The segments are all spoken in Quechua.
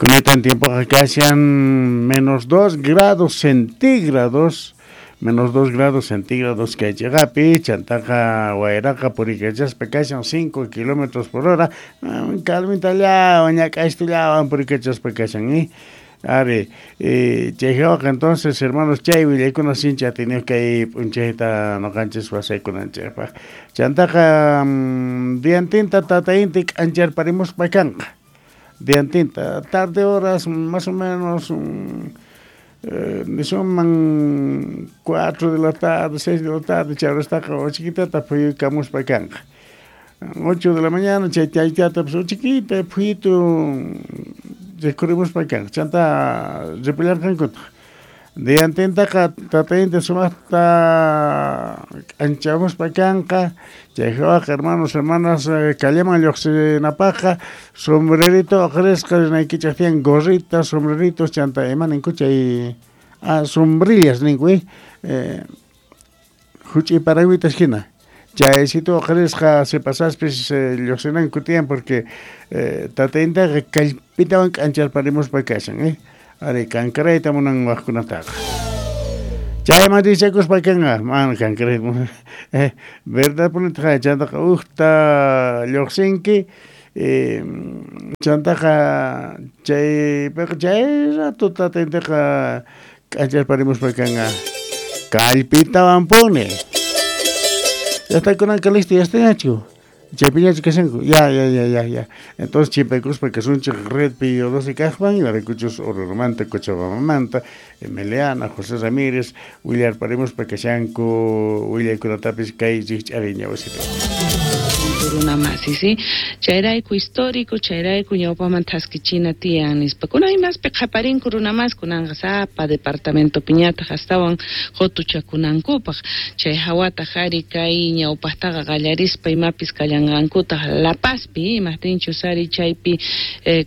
Kunitan tiempoqa kashan menos 2 grados centígrados, menos 2 grados centígrados kay chiqapi, chantaqa wayraqa purikachaspa kashan 5 kilómetros por hora, calmitallawan ñak'aystullawan purikachaspa kashan, Ari, chay hawaqa entonces hermanos chay willaykuna sinchi atiniyuq kay p'unchayta ñuqanchis wasaykunanchikpaq. Chantaqa diantinta tata inti k'ancharparimuspa kanqa. Diantinta tarde horas más o menos nisunman 4 de la tarde, 6 de la tarde chay horastaqa uchiquitata phuyukamuspa kanqa. 8 de la mañana chay chaychata pues uchiquita phuyitu rikhurimuspa kanqa. Chanta ripullarqankutaq. Diantintaqa tata inti sumaqta k'anchamuspa kanqa. Chay hawaqa hermanos, hermanas kallaman lluqsinapaqqa sombrerito uqarisqa rinaykichik tiyan gorritas, sombreritos chanta ima ninku chay sombrillas ninku huch'uy paragüitas hina. Chaysitu uqarisqa sipasaspis lluqsinanku tiyan porque tata intiqa kallpitawan k'ancharparimuspa kashan, Ari kankarayta munan waqkunataqa. Chayman richakuspa kanqa, mana kankarayta munan. Verdad punitaqa chantaqa uqta lluqsinki, chantaqa chaypiqa chay rato tata intiqa k'ancharparimuspa kanqa kallpitawanpuni. Llaqtakunanqa listo ya estañachu. Chaypiñachu kashanku. Ya, ya, ya, ya, ya. Entonces chimpaykuspa kasunchik redpi 12 kaqman, imaraykuchus Orurumanta, Cochabambamanta, Emiliana, José Ramírez, willarparimuspa kashanku willaykunatapis kay rikch'ariña wasipi. Runa masi, sí? Chayrayku histórico, chayrayku ñawpaman thaskichina tiyan nispa. Kunan imaspi qhaparinku runa mas, kunanqa sapa departamento piñataq astawan qutuchakunankupaq. Chay hawataq ari kay ñawpaqtaqa qallarispa imapis kallanqankutaq La Pazpi, imaqtinchus ari chaypi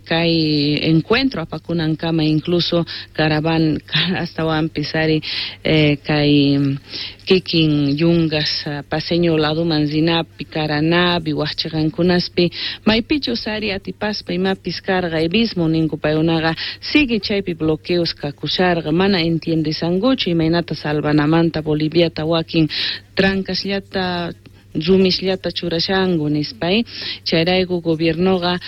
kay encuentro apakunankama incluso caravan astawanpis ari kay kikin yungas paseño laduman rinapi, Caranapi, waqchiqankunaspi, maypichus ari atipaspa imapis karqa evismo ninku paykunaqa sigue chaypi bloqueos kakusharqa, mana entiendesankuchu imaynata salvanamanta Boliviata wakin trancasllata rumisllata churashanku nispa, Chayrayku gobiernoqa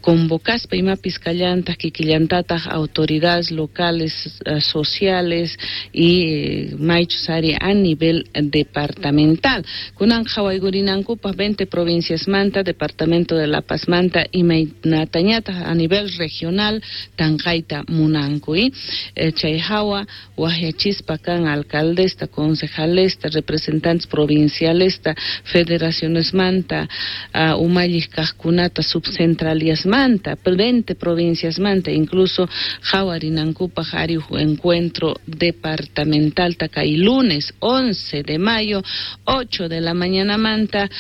convocaspa imapis kallantaq kikillantataq autoridades locales, sociales y maychus ari a nivel departamental. Kunan qhawaykurinankupaq 20 provinciasmanta, departamento de La Pazmanta imaynatañataq a nivel regional tanqayta munanku, Chay hawa waqyachispa kan alcaldesta, concejalesta, representantes provincialesta, federacionesmanta, umalliq kaqkunata, subcentraliasmanta, 20 provinciasmanta, incluso qhawarinankupaq ari huk encuentro departamental kay lunes 11 de mayo, 8 de la mañanamanta,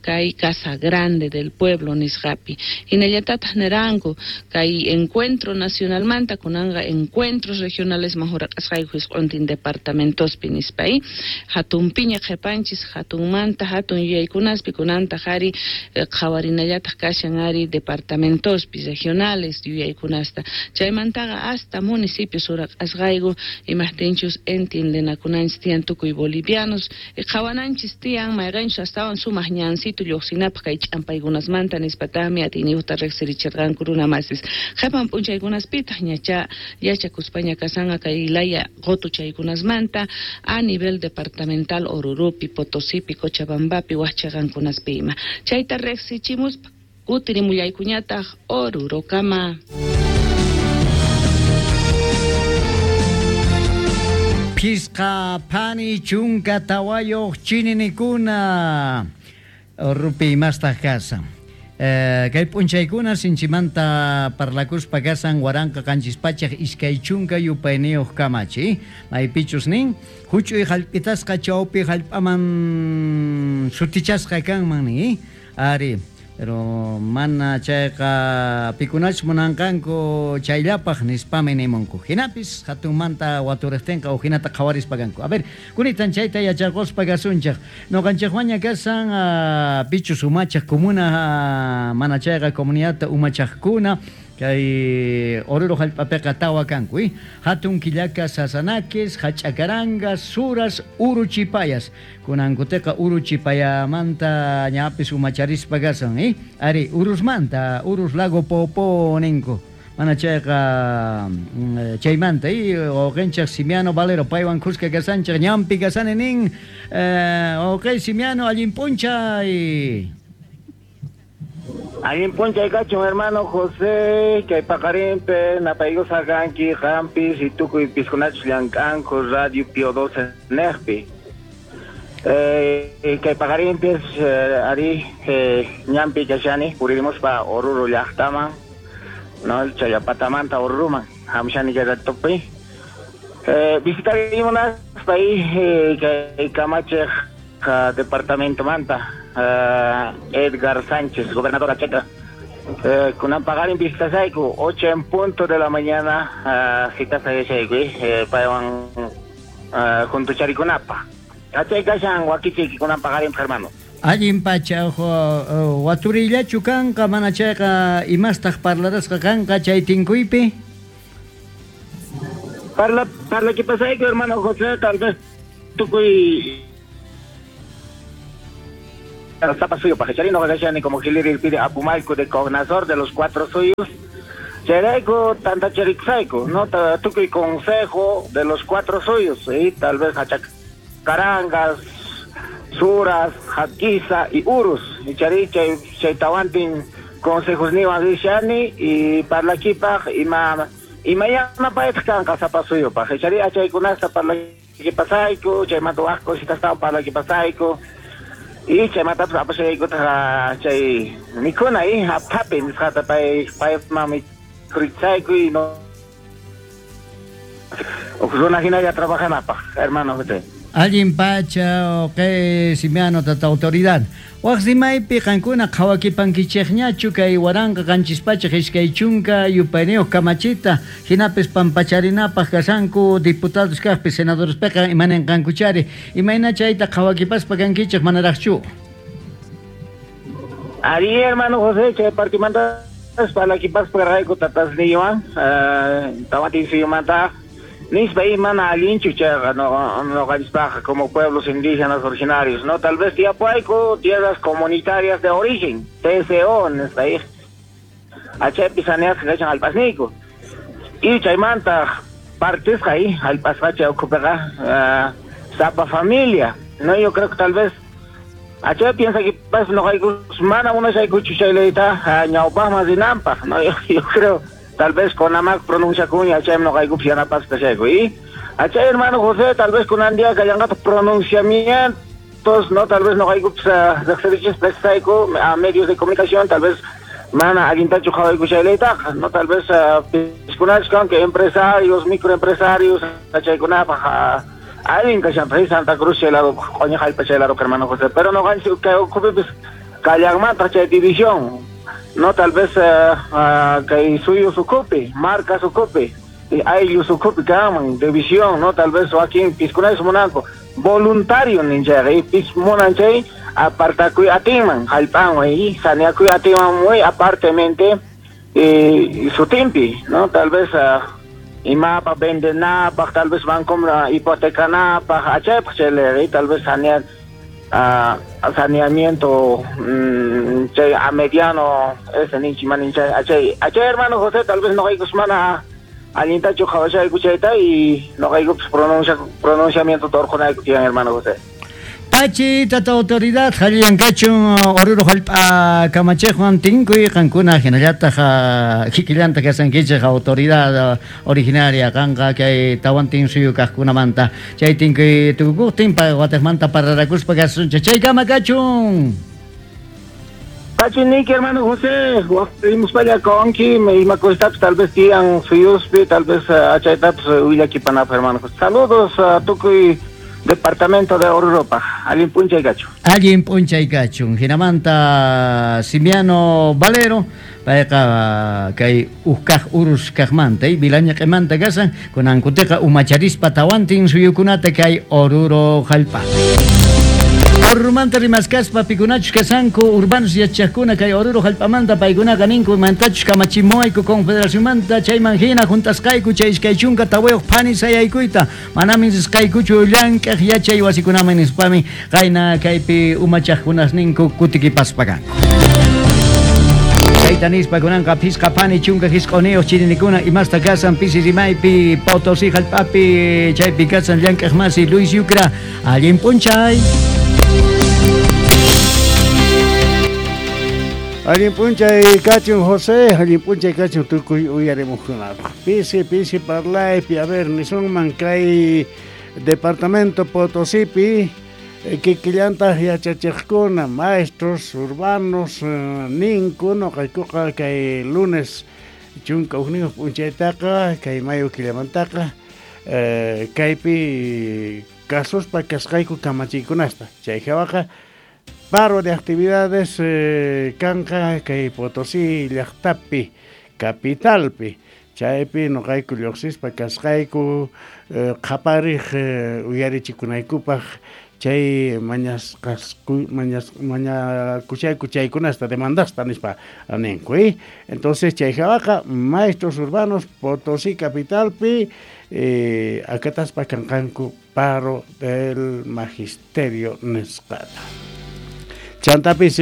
kay Casa Grande del Pueblo nisqapi. Hinallatataq niranku kay encuentro nacionalmanta kunanqa encuentros regionales mahuraqasqayku hisq'untin departamentospi nispa, Hatun piña qhipanchis hatunmanta hatun yuyaykunaspi kunantaq ari qhawarinallataq kashan ari departamentospi regionales yuyaykunasta. Chaymantaqa hasta municipios uraqasqayku imaqtinchus entiendenakunanchis tiyan tukuy bolivianos qhawananchis tiyan mayqinchus astawan sumaq ñansito lluqsinapaq kay ch'ampaykunasmanta nispataqmi atiyniyuqta riqsirichirqanku runa masis. Qhipan p'unchaykunaspitaq ñacha yachakuspaña kasanqa kay laya qutuchaykunasmanta a nivel departamental Orurupi, Potosipi, Cochabambapi, waqchiqankunaspi ima. Chayta riqsichimuspa kutirimullaykuñataq Orurokama. Phisqa phani chunka tawayuq chininikuna Orupi imastaq kasan. Kay p'unchaykuna sinchimanta parlakuspa kasan 1720 yupayniyuq kamachi. Maypichus nin huch'uy hallp'itasqa chawpi hallp'aman sutichasqa kanman ni. Ari, pero mana chayqa pikunachus munanqanku chayllapaq nispami nimunku. Hinapis hatunmanta waturiqtinqa uhinata qhawarispa kanku. A ver, kunitan chayta yacharquspa kasunchik. Ñuqanchikwaña kasan pichus umachaq comuna mana chayqa comunidadta umachaqkuna Kay Oruro hallp'apiqa tawa kanku, hatun killaka Sasanaques, Hach'akarangas, Suras, Uruchipayas. Kunankutiqa Uruchipayamanta ñapis umacharispa kasan, Ari, Urusmanta, Urus Lago Popo ninku. Mana chayqa chaymanta, wawqinchik Simiano Valero paywan khuska kasanchik ñampi kasani nin, wawqi Simiano allin p'unchay. Allin p'unchay kachun hermano José, kay paqarinpi napaykusa kanki qampis y tukuy piskunachus llank'anku Radio Pío 12 neqpi. Kay paqarinpis ari ñampi kashani puririmuspa Oruro llaqtaman, no Chayapatamanta Oruruman hamshani kay ratopi. Visitarimunaspa kay kamachiq departamento manta Edgar Sánchez, gobernador Acheca. Kunan paqarin visitasayku 8 en punto de la mañana, citas ayashayku, paywan junto charikunapa. Achay kashan wakichiki kunan paqarin hermano. Allin pacha waturillachu kanqa mana chayqa imastaq parlarasqa kanqa chay tinkuypi? Parla pasayku hermano José, tal vez tukuy Sapa suyo pajecharino gashani como Giliri pide Apumalco de Cognazor de los cuatro suyos. Cheraico tantacheriksaico, no tukuy consejo de los cuatro suyos, y tal vez Hachacarangas, Suras, Jaquiza y Urus. Y chari chay chaytawantin consejos niwan rishani y parlakipaj ima imayana paytaq kanqa sapa suyo pajechari achaykunasta parlakipasayku, chaymanta waj cositas parlakipasayku. Y chaymatapas apashaykutaq chay mikuna aphapi nisqata pay payman mikhurichayku y no runa hinalla trabajanapaq hermano José. Allin pacha kay Simiano tata autoridad. Waq rimaypi qankuna qhawakipankichikñachu kay 1722 yupayniyuq kamachita hinapis pampacharinapaq kasanku diputados kaqpi senadores piqa imaninqankuchari imayna chayta qhawakipaspa kankichik manaraqchu. Ari hermano José chay partimanta parlakipaspa rayku tatasniywan tawantinsuyumanta nispa mana allinchu chayqa noqanchispaqqa como pueblos indígenas originarios, no tal vez tiapuayku tierras comunitarias de origen, TCO nispa achaypi saneasqa kachan hallp'asniyku y chaymanta partisqa hallp'asqa chay ukhupiqa sapa familia, no yo creo que tal vez achay piensa que noqaykus mana munashaykuchu chay leyta ñawpaqman rinanpaq, no yo creo tal vez con amac pronuncia cuña, achay no caigo yanapasqa chayku y achay hermano José tal vez con andía kallanqata pronunciamientos, no tal vez no caigo a medios de comunicación, tal vez mana allintachu qhawayku chaylaytaqa, no tal vez piskunachkan que empresarios, microempresarios achaykunapaq allin kashanpaq Santa Cruz chay lado q'uñi hallp'a chay lado hermano José, pero no kay ukhupipis kallanmantaq chay división. No, tal vez kay suyu sukupi, marca sukupi, ayllu sukupi kanman, división, no, tal vez wakin piskunayus munanku, voluntario ninchayqa, y pis munan chay apartakuy atinman, hallp'anwan, y saneakuy atinman muy apartemente sutinpi, no, tal vez imapaq vendenapaq, tal vez banco hipotecanapaq, achaypaq chay tal vez sanear saneamiento chay a mediano ese ninchi manin chay achay achay hermano José tal vez no hay mana allintachu qhawashayku chayta y no hay pronunciamiento torqunayku tiyan hermano José. Pachi tata autoridad halliyankachun Oruro hallp'a kamachiqwan tinkuy qankuna hinallataq kikillanta kasankichik autoridad originaria qanqa kay tawantin suyu kaqkunamanta chay tinkuy tukukuqtin watiqmanta pararakuspa kasunchik chaykama kachun. Kachuniki hermano José waqrimuspalla konki ima cositapis tal vez tiyan suyuspi tal vez achaytapis willakipanapaq hermano José. Saludos a tukuy departamento de Oruro, allin p'unchay kachun. Allin p'unchay kachun. Hinamanta Simiano Valero, payqa kay ukkaq urus kaqmanta, Vilañaqimanta kasan, kunankutiqa umacharispa tawantin suyukunata kay Oruro hallp'api. Orurumanta rimaskaspa pikunachus kasanku urbanos yachaqkuna kay Oruro hallp'amanta paykunaqa ninku imantachus kamachimuwayku confederacionmanta chayman hina juntasqayku chay 24 phani sayaykuyta manamin risqaykuchu llank'aq yachay wasikunaman nispami qayna kaypi umachaqkunas ninku kutikipaspa kanku. Chayta nispa kunanqa phisqa phani 19 chirinikuna imasta kasan pisi rimaypi Potosí hallp'api chaypi kasan llank'aq masi Luis Yucra allin p'unchay. Allin p'unchay kachun José, allin p'unchay kachun tukuy uyarimuqkunapaq. Pisi pisi parlaypi, a ver, nisunman kay departamento Potosípi kikillantaq yachachiqkuna, maestros urbanos ninku nuqaykuqa kay lunes 11 p'unchaytaqa kay mayo killamantaqa kaypi kasuspa kasqayku kamachiykunasta. Chay hawaqa paro de actividades kanqa kay Potosí llaqtapi, capitalpi. Chaypi nuqayku lluqsispa kasqayku qhapariq uyarichikunaykupaq chay mañakuchayku chaykunasta demandasta nispa ninku. Entonces chay hawaqa maestros urbanos Potosí capitalpi akataspa kanqanku paro del magisterio nisqata. Chantapis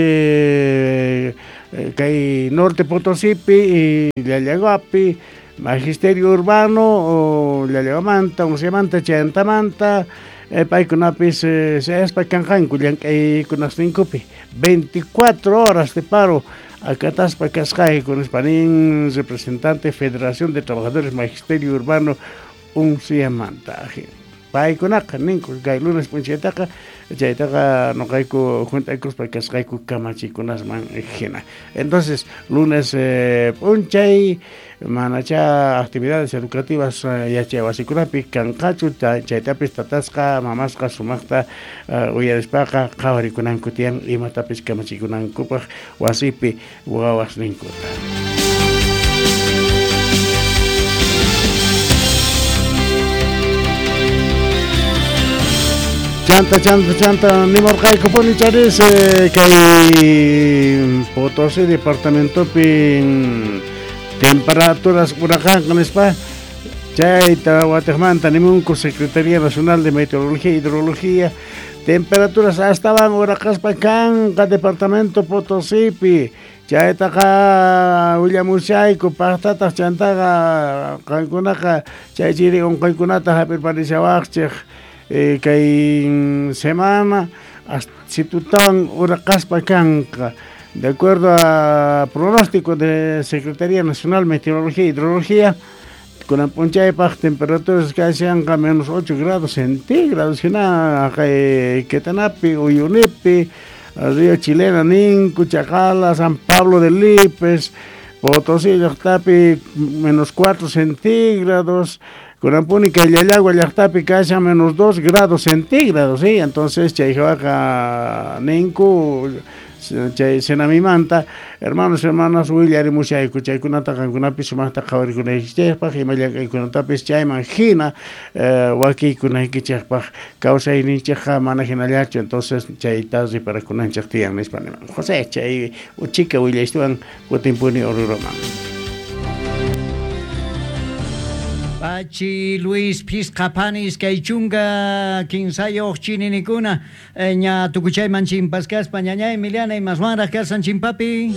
kay Norte Potosípi Llallaguapi magisterio urbano Llallaguamanta, Unciamanta, Chantamanta paykunapis sayaspa kanqanku llank'aykunasninkupi 24 horas de paro akataspa kasqayku nispa nin representante Federación de Trabajadores Magisterio Urbano Unciamanta. Paykunaqa ninku kay lunes p'unchaytaqa chaytaqa nuqayku juntaykuspa kasqayku kamachikunasman hina. Entonces lunes p'unchay manacha actividades educativas yachay wasikunapi kanqachu chaytapis tatasqa mamasqa sumaqta uyarispaqa qhawarikunanku tiyan imatapis kamachikunankupaq wasipi wawasninkuta. Chanta, chanta, chanta, nimurqaykupuni charis kay Potosí departamentopi temperaturas uraqanqa nispa chayta watiqmanta nimunku Secretaría Nacional de Meteorología e Hidrología temperaturas astawan uraqaspa kanqa departamento Potosípi chaytaqa willamushayku paqtataq chantaqa qankunaqa chay chiri unquykunata hap'irparishawaqchik kay semana situtawan uraqaspa kanqa de acuerdo a pronóstico de Secretaría Nacional Meteorología e Hidrología kunan p'unchaypaq temperaturas kashanqa menos 8 grados centígrados hina kay Quetanapi, Uyunipi, Río Chilena, Ninku, Chacala, San Pablo de Lipes, Potosí llaqtapi menos 4 centígrados. Kunampuni kay Llallagua llaqtapi kashan menos 2 grados centígrados, ¿sí? Entonces chay hawaqa ninku chay senamimanta hermanos hermanas willarimushayku chaykunata qankunapi sumaqta qhawarikunaykichikpaq ima llank'aykunatapis chayman hina wakiykunaykichikpaq kawsayninchikqa mana hinallachu entonces chayta riparakunanchik tiyan nispa niman José chay uchika willaystuwan kutinpuni Oruroman. Pachi Luis phisqa phani 23 chininikuna ña tukuchayman chimpaskaspa ñañay Emiliana imaswanraq kasan chimpapi.